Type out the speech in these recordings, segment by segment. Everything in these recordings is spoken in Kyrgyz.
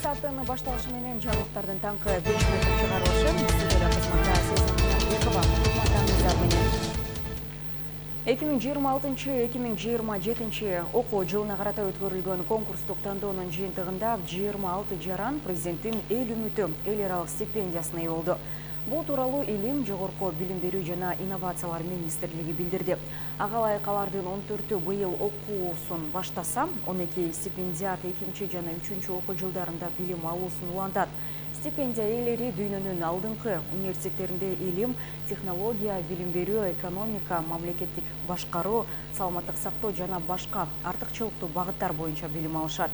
сааттын башталышы менен жаңылыктардын таңкы 5 минуттук чыгарылышы студияда кызматта Сезимбекова менен 2026-2027 окуу жылына карата өткөрүлгөн конкурстук тандоонун жыйынтыгында 26 жаран президенттин эл үмүтү эл аралык стипендиясына ээ болду. Бул тууралуу Илим, Жогорку билим берүү жана инновациялар министрлиги билдирди. Ага ылайык алардын 14-ü быйыл окуусун баштаса, 12 стипендиат 2 жана 3 окуу жылдарында билим алуусун улантат. Стипендия ээлери дүйнөнүн алдыңкы университеттеринде илим, технология, билим берүү, экономика, мамлекеттик башкаруу, саламаттык сактоо жана башка артыкчылыктуу багыттар боюнча билим алышат.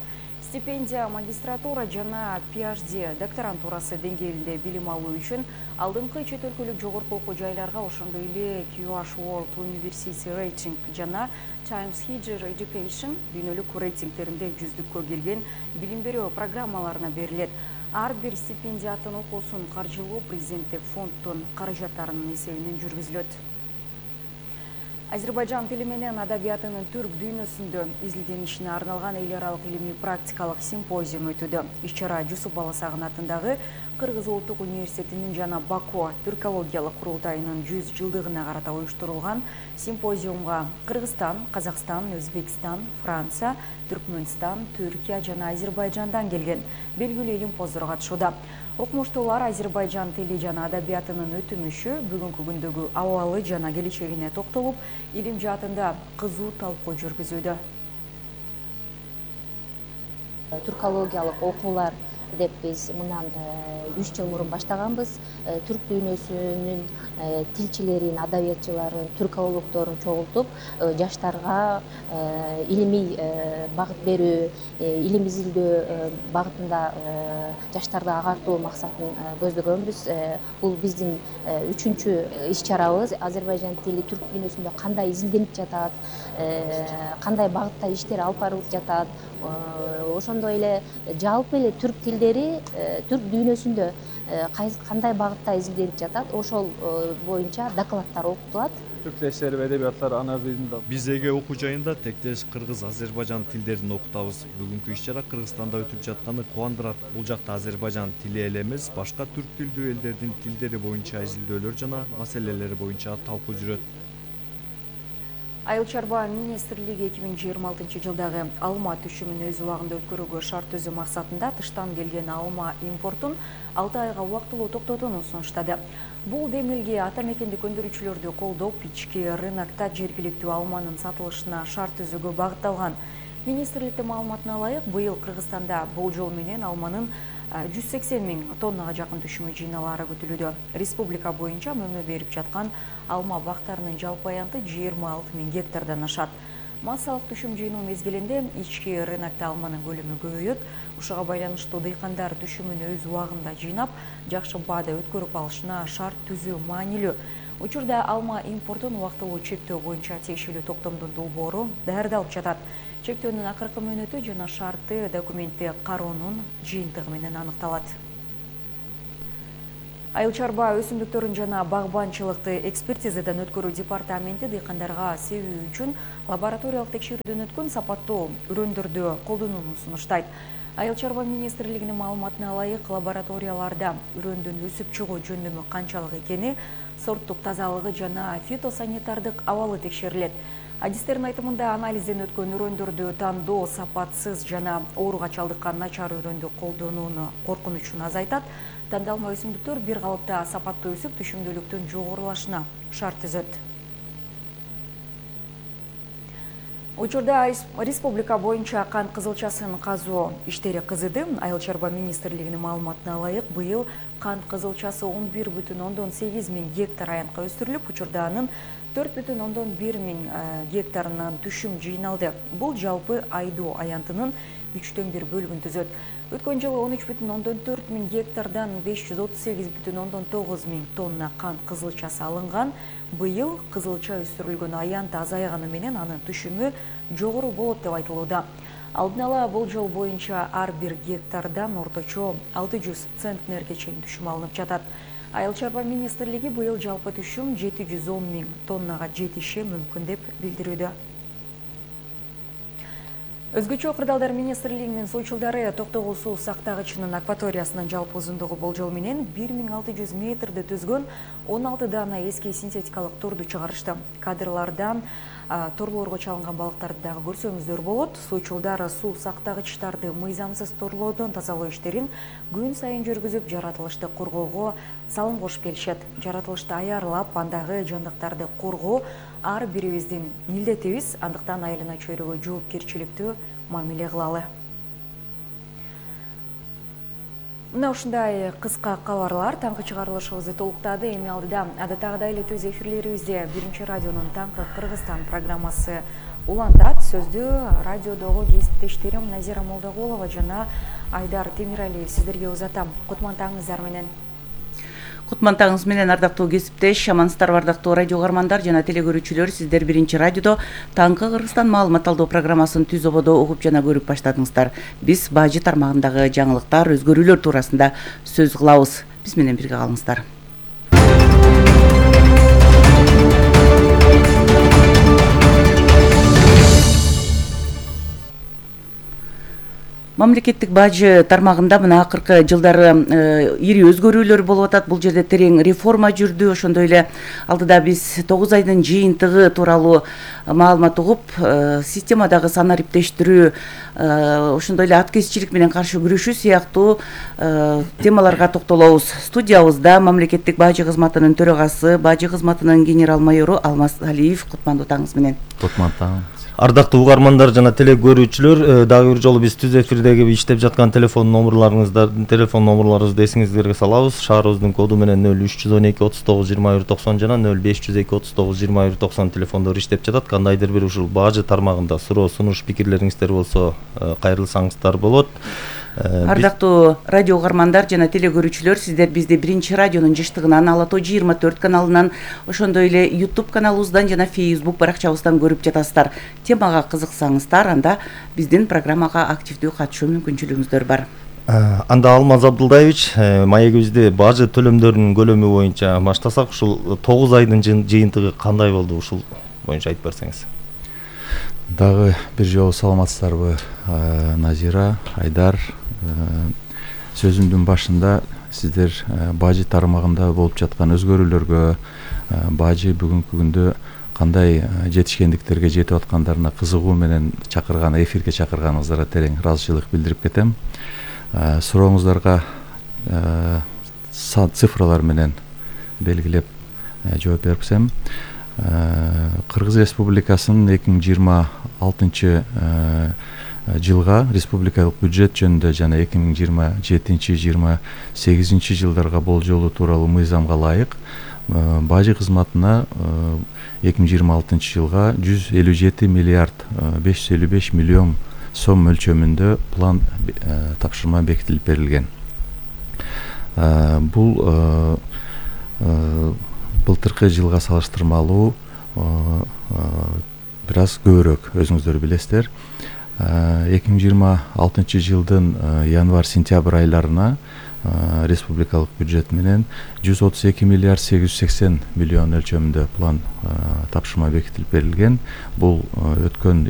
Стипендия магистратура жана PhD докторантурасы деңгээлинде билим алуу үчүн алдыңкы чет өлкөлүк жогорку окуу жайларга ошондой эле QH World University Rating жана Times Higher Education дүйнөлүк рейтингтеринде жүздүккө кирген билим берүү программаларына берилет. Ар бир стипендиаттын окуусун каржылоо президенттик фонддун каражаттарынын эсебинен жүргүзүлөт. Азербайжан тили менен адабиятынын түрк дүйнөсүндө изилденишине арналган эл аралык илимий практикалык симпозиум өтүүдө. Иш-чара Жусуп Баласагын атындагы Кыргыз Улуттук университетинин жана Баку түркологиялык курултайынын 100 жылдыгына карата уюштурулган симпозиумга Кыргызстан, Казакстан, Өзбекстан, Франция, Түркмөнстан, Түркия жана Азербайжандан келген белгилүү илимпоздор катышууда. Окумуштуулар Азербайжан тили жана адабиятынын өтүмүшү, бүгүнкү күндөгү абалы жана келечегине токтолуп, илим жаатында кызуу талкуу жүргүзүүдө. Түркологиялык окуулар деп биз мындан 3 жыл мурун баштаганбыз. Түрк дүйнөсүнүн тилчилерин, адабиятчыларын, түркологдорун чогултуп, жаштарга илимий багыт берүү, илим изилдөө багытында жаштарды агартуу максатын көздөгөнбүз. Бул биздин 3-чү иш-чарабыз. Азербайжан тили түрк дүйнөсүндө кандай изилденип жатат, кандай багытта иштер алып барылып жатат, ошондой эле жалпы эле түрк тилдери түрк дүйнөсүндө кандай багытта изилденип жатат, ошол боюнча докладдар окутулат. Түрктештер эдебияттар ана тилинде. Биздеги окуу жайында тектеш кыргыз, азербайжан тилдерин окутабыз. Бүгүнкү иш-чара Кыргызстанда өтүп жатканы кубандырат. Бул жакта азербайжан тили эле эмес, башка түрк тилдүү элдердин тилдери боюнча изилдөөлөр жана маселелери боюнча талкуу жүрөт. Айыл чарба министрлиги 2026 жылдагы алма түшүмүн өз убагында өткөрүүгө шарт түзүү максатында тыштан келген алма импортун 6 айга убактылуу токтотууну сунуштады. Бул демилге ата мекендик өндүрүүчүлөрдү колдоп, ички рынокто жергиликтүү алманын сатылышына шарт түзүүгө багытталган. Министрликтин маалыматына ылайык, быйыл Кыргызстанда бул жол менен алманын 180 000 тоннага жакын түшүмү жыйналаары күтүлүүдө. Республика боюнча мөмө берип жаткан алма бактарынын жалпы аянты 26 000 гектардан ашат. Массалык түшүм жыйноо мезгилинде ички рынокто алманын көлөмү көбөйөт. Ушуга байланыштуу дыйкандар түшүмүн өз убагында жыйнап, жакшы баада өткөрүп алышына шарт түзүү маанилүү. Учурда алма импортун убактылуу чектөө боюнча тиешелүү токтомдун долбоору даярдалып жатат. Чектөөнүн акыркы мөөнөтү жана шарты документти кароонун жыйынтыгы менен аныкталат. Айыл чарба өсүмдүктөрүн жана багбанчылыкты экспертизадан өткөрүү департаменти дыйкандарга себүү үчүн лабораториялык текшерүүдөн өткөн сапаттуу үрөндөрдү колдонууну сунуштайт. Айыл чарба министрлигинин маалыматына ылайык, лабораторияларда үрөндүн өсүп чыгуу жөндөмү канчалык экени, сорттук тазалыгы жана фитосанитардык абалы текшерилет. Адистердин айтымында анализден өткөн үрөндөрдү тандоо сапатсыз жана ооруга чалдыккан начар үрөндү колдонууну коркунучун азайтат. Тандалма өсүмдүктөр бир калыпта сапаттуу өсүп, түшүмдүүлүктүн жогорулашына шарт түзөт. Учурда республика боюнча кант кызылчасын казуу иштери кызыды. Айыл чарба министрлигинин маалыматына ылайык, быйыл кант кызылчасы 11,8 000 гектар аянтка өстүрүлүп, учурда анын 4,1 000 гектарынан түшүм жыйналды. Бул жалпы айдоо аянтынын 3/1 бөлүгүн түзөт. Өткөн жылы 13,4 000 гектардан 538,9 000 тонна кант кызылчасы алынган. Быйыл кызылча өстүрүлгөн аянт азайганы менен анын түшүмү жогору болот деп айтылууда. Алдын ала болжол боюнча ар бир гектардан орточо 600 центнерге чейин түшүм алынып жатат. Айыл чарба министрлиги быйыл жалпы түшүм 710 000 тоннага жетиши мүмкүн деп билдирүүдө. Өзгөчө кырдаалдар министрлигинин сойчулдары Токтогул суу сактагычынын акваториясынын жалпы узундугу болжол менен 1600 метрди түзгөн 16 дана эски синтетикалык торду чыгарышты. Кадрлардан торлорго чалынган балыктарды дагы көрсөңүздөр болот. Сойчулдар суу сактагычтарды мыйзамсыз торлоодон тазалоо иштерин күн сайын жүргүзүп, жаратылышты коргоого салым кошуп келишет. Жаратылышты аярлап, андагы жандыктарды коргоо ар бирибиздин милдетибиз, андыктан айылына чөйрөгө жоопкерчиликтүү мамиле кылалы. Мына ушундай кыска кабарлар таңкы чыгарылышыбызды толуктады. Эми алдыда адаттагыдай эле төз эфирлерибизде Биринчи радионун Таңкы Кыргызстан программасы улантат. Сөздү радиодогу кесиптештерим Назира Молдогулова жана Айдар Темиралиев сиздерге узатам. Кутмантаңыздар менен. Кутмантаңыз менен ардактуу кесиптеш, амансыздарбы ардактуу радио каармандар жана телекөрүүчүлөр. Сиздер Биринчи радиодо Таңкы Кыргызстан маалымат алуу программасын түз ободо угуп жана көрүп баштадыңыздар. Биз бажы тармагындагы жаңылыктар, өзгөрүүлөр туурасында сөз кылабыз. Биз менен бирге калыңыздар. Мамлекеттик бажы тармагында мына акыркы жылдары ири өзгөрүүлөр болуп атат. Бул жерде терең реформа жүрдү. Ошондой эле алдыда биз 9 айдын жыйынтыгы тууралуу маалымат угуп, системадагы санариптештирүү, ошондой эле аткезчилик менен каршы күрөшүү сыяктуу темаларга токтолобуз. Студиябызда мамлекеттик бажы кызматынын төрагасы, бажы кызматынын генерал майору Алмаз Алиев. Кутмандуу таңыңыз менен. Кутман. Ардактуу угармандар жана телекөрүүчүлөр, дагы бир жолу биз түз эфирдеги иштеп жаткан телефон номурларыбызды эсиңиздерге салабыз. Шаарыбыздын коду менен 0312 39 21 90 жана 0502 39 21 90 телефондору иштеп жатат. Кандайдыр бир ушул бажы тармагында суроо, сунуш, пикирлериңиздер болсо кайрылсаңыздар болот. Ардактуу радио каармандар жана телекөрүүчүлөр, сиздер бизди Биринчи радионун жыштыгынан, Ала Тоо 24 каналынан, ошондой эле YouTube каналыбыздан жана Facebook баракчабыздан көрүп жатасыздар. Темага кызыксаңыздар, анда биздин программага активдүү катышуу мүмкүнчүлүгүңүздөр бар. Анда Алмаз Абдулдаевич, маегибизди бажы төлөмдөрүнүн көлөмү боюнча баштасак, ушул 9 айдын жыйынтыгы кандай болду, ушул боюнча айтып берсеңиз. Дагы бир жолу саламатсыздарбы, Назира, Айдар. Сөзүмдүн башында сиздер бажы тармагында болуп жаткан өзгөрүүлөргө, бажы бүгүнкү күндө кандай жетишкендиктерге жетип аткандарына кызыгуу менен эфирге чакырганыңыздарга терең ыраазычылык билдирип кетем. Сурооңуздарга цифралар менен белгилеп жооп берсем, Кыргыз Республикасынын 2026 жылга республикалык бюджет жөнүндө жана 2027-28 жылдарга болжолу тууралуу мыйзамга ылайык бажы кызматына 2026 жылга 157 миллиард 555 миллион сом мөлчөмүндө план тапшырма бекитилип берилген. Бул былтыркы жылга салыштырмалуу бир аз көбүрөөк, өзүңүздөр билесиздер. 2026 жылдын январь-сентябрь айларына республикалык бюджет менен 132 миллиард 880 миллион өлчөмүндө план тапшырма бекитилип берилген. Бул өткөн